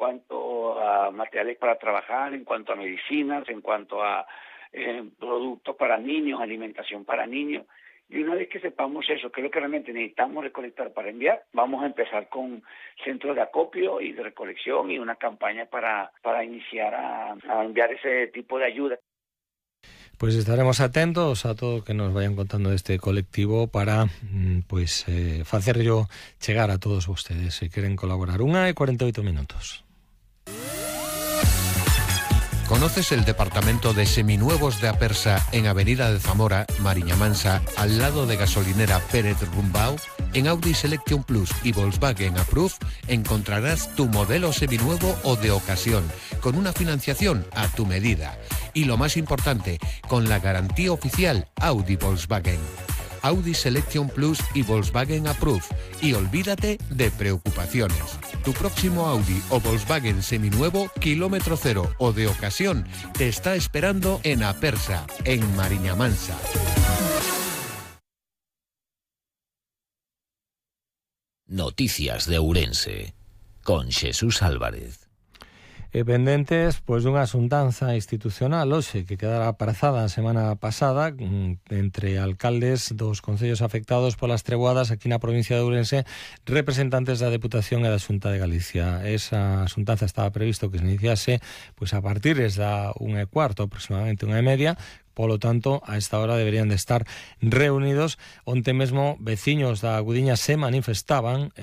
cuanto a materiales para trabajar, en cuanto a medicinas, en cuanto a productos para niños, alimentación para niños. Y una vez que sepamos eso, que es lo que realmente necesitamos recolectar para enviar, vamos a empezar con centros de acopio y de recolección y una campaña para iniciar a enviar ese tipo de ayuda. Pues estaremos atentos a todo que nos vayan contando de este colectivo para facerlo chegar a todos ustedes si quieren colaborar. 1:48. ¿Conoces el departamento de seminuevos de Apersa en Avenida de Zamora, Mariña Mansa, al lado de gasolinera Pérez Rumbau? En Audi Selection Plus y Volkswagen Approve encontrarás tu modelo seminuevo o de ocasión, con una financiación a tu medida. Y lo más importante, con la garantía oficial Audi Volkswagen. Audi Selection Plus y Volkswagen Approve. Y olvídate de preocupaciones. Tu próximo Audi o Volkswagen seminuevo, kilómetro cero o de ocasión, te está esperando en Apersa, en Mariña Mansa. Noticias de Ourense, con Jesús Álvarez. Pendentes dunha xuntanza institucional hoxe que quedara aprazada a semana pasada entre alcaldes dos concellos afectados polas treboadas aquí na provincia de Ourense, representantes da Deputación e da Xunta de Galicia. Esa xuntanza estaba previsto que se iniciase a partir da 1:15, aproximadamente 1:30. Polo tanto, a esta hora deberían de estar reunidos. Onte mesmo, veciños da Gudiña se manifestaban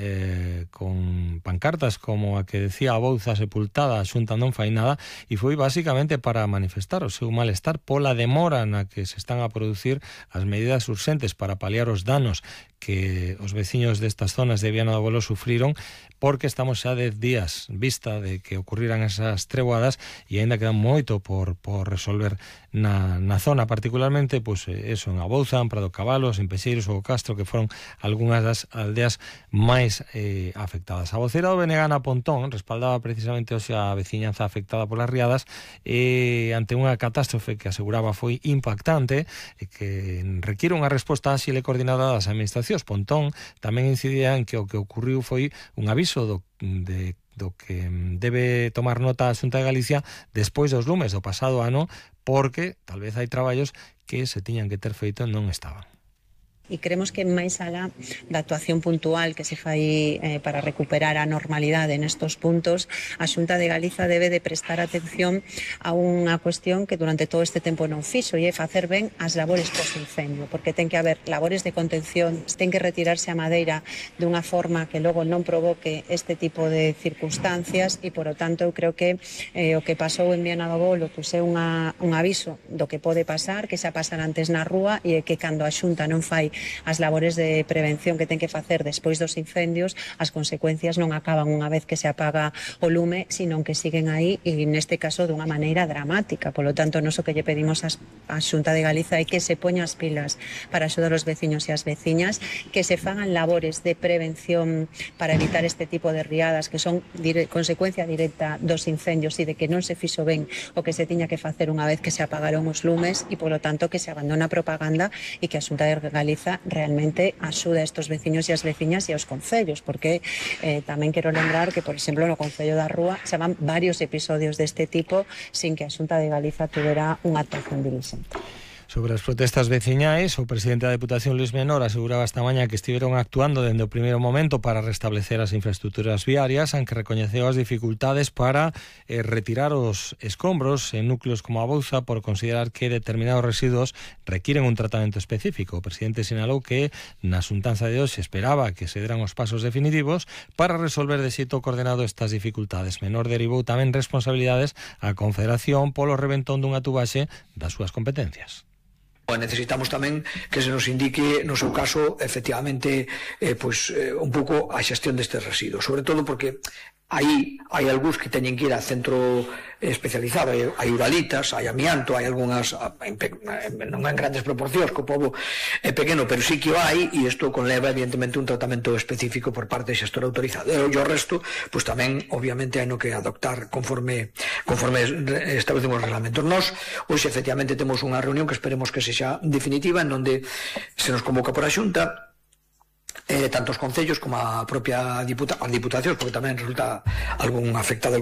con pancartas como a que decía a Bouza sepultada, a Xunta non fai nada, e foi basicamente para manifestar o seu malestar pola demora na que se están a producir as medidas urxentes para paliar os danos que os veciños destas zonas de Viana do Bolo sufriron, porque estamos xa 10 días vista de que ocurriran esas treboadas e aínda queda moito por resolver na zona, particularmente eso, en Abouza, en Prado Cabalos, en Pexeiros ou Castro, que foron algunhas das aldeas máis afectadas. A vocera do BNG, Ana Pontón, respaldaba precisamente hoxe a veciñanza afectada polas riadas ante unha catástrofe que aseguraba foi impactante e que requiere unha resposta áxil e coordinada das administracións. Pontón tamén incidía en que o que ocurriu foi un aviso do que debe tomar nota a Xunta de Galicia despois dos lumes do pasado ano, porque tal vez hai traballos que se tiñan que ter feito e non estaban. E creemos que máis alá da actuación puntual que se fai para recuperar a normalidade nestos puntos, a Xunta de Galiza debe de prestar atención a unha cuestión que durante todo este tempo non fixo, e é facer ben as labores post-incendio, porque ten que haber labores de contención, ten que retirarse a madeira dunha forma que logo non provoque este tipo de circunstancias, e por o tanto eu creo que o que pasou en Viana do Bolo é un aviso do que pode pasar, que xa pasar antes na rúa, e que cando a Xunta non fai as labores de prevención que ten que facer despois dos incendios, as consecuencias non acaban unha vez que se apaga o lume, sino que siguen aí, e neste caso dunha maneira dramática. Polo tanto, nós o que lle pedimos á Xunta de Galiza é que se poña as pilas para axudar os veciños e as veciñas, que se fagan labores de prevención para evitar este tipo de riadas que son consecuencia directa dos incendios e de que non se fixo ben o que se tiña que facer unha vez que se apagaron os lumes, e polo tanto que se abandona a propaganda e que a Xunta de Galiza realmente axuda a estos veciños e as veciñas e aos concellos, porque tamén quero lembrar que, por exemplo, no Concello da Rúa xa van varios episodios deste tipo sin que a Xunta de Galiza tuvera unha actuación dilixente. Sobre as protestas veciñais, o presidente da Deputación, Luis Menor, aseguraba esta mañá que estiveron actuando dende o primeiro momento para restablecer as infraestructuras viarias, aunque recoñeceu as dificultades para retirar os escombros en núcleos como a Bouza por considerar que determinados residuos requiren un tratamento específico. O presidente sinalou que na xuntanza de hoxe esperaba que se deran os pasos definitivos para resolver de xeito coordenado estas dificultades. Menor derivou tamén responsabilidades á Confederación polo reventón dunha tubaxe das súas competencias. Necesitamos tamén que se nos indique, no seu caso, efectivamente, un pouco a xestión destes residuos, sobre todo porque aí hai algúns que teñen que ir a centro especializado, hai uralitas, hai amianto, hai algunhas, non en grandes proporcións, que o pobo é pequeno, pero sí que o hai, e isto conleva evidentemente un tratamento específico por parte do xestor autorizado. E o resto, pois tamén, obviamente, hai no que adoptar conforme establecemos os reglamentos. Nós, hoxe, efectivamente, temos unha reunión que esperemos que sexa definitiva, en onde se nos convoca por a Xunta, tanto os concellos como a propia Diputación, porque tamén resulta algún afectado